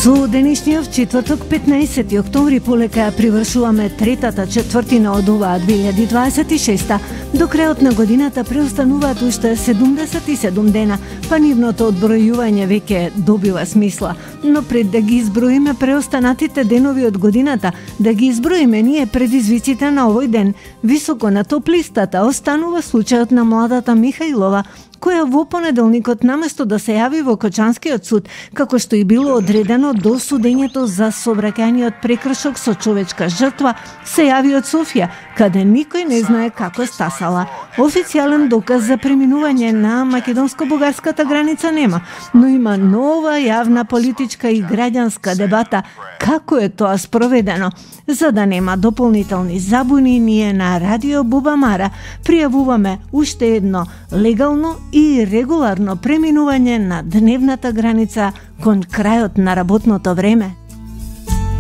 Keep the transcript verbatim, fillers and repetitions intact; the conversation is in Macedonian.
Со денешниот четврток, петнаесети октомври, полека привршуваме третата четвртина од оваа две илјади дваесет и шеста. До крајот на годината преостануваат уште седумдесет и седум дена, па нивното одбројување веќе добива смисла. Но пред да ги изброиме преостанатите денови од годината, да ги изброиме ние предизвиците на овој ден, високо на топ-листата останува случајот на младата Михајлова, која во понеделникот наместо да се јави во Кочанскиот суд, како што и било одредено до судењето за сообраќајниот прекршок со човечка жртва, се јави од Софија, каде никој не знае како стасала. Официјален доказ за преминување на македонско-бугарската граница нема, но има нова јавна политичка и граѓанска дебата како е тоа спроведено. За да нема дополнителни забуни, ние на Радио Бубамара пријавуваме уште едно легално и регуларно преминување на дневната граница кон крајот на работното време.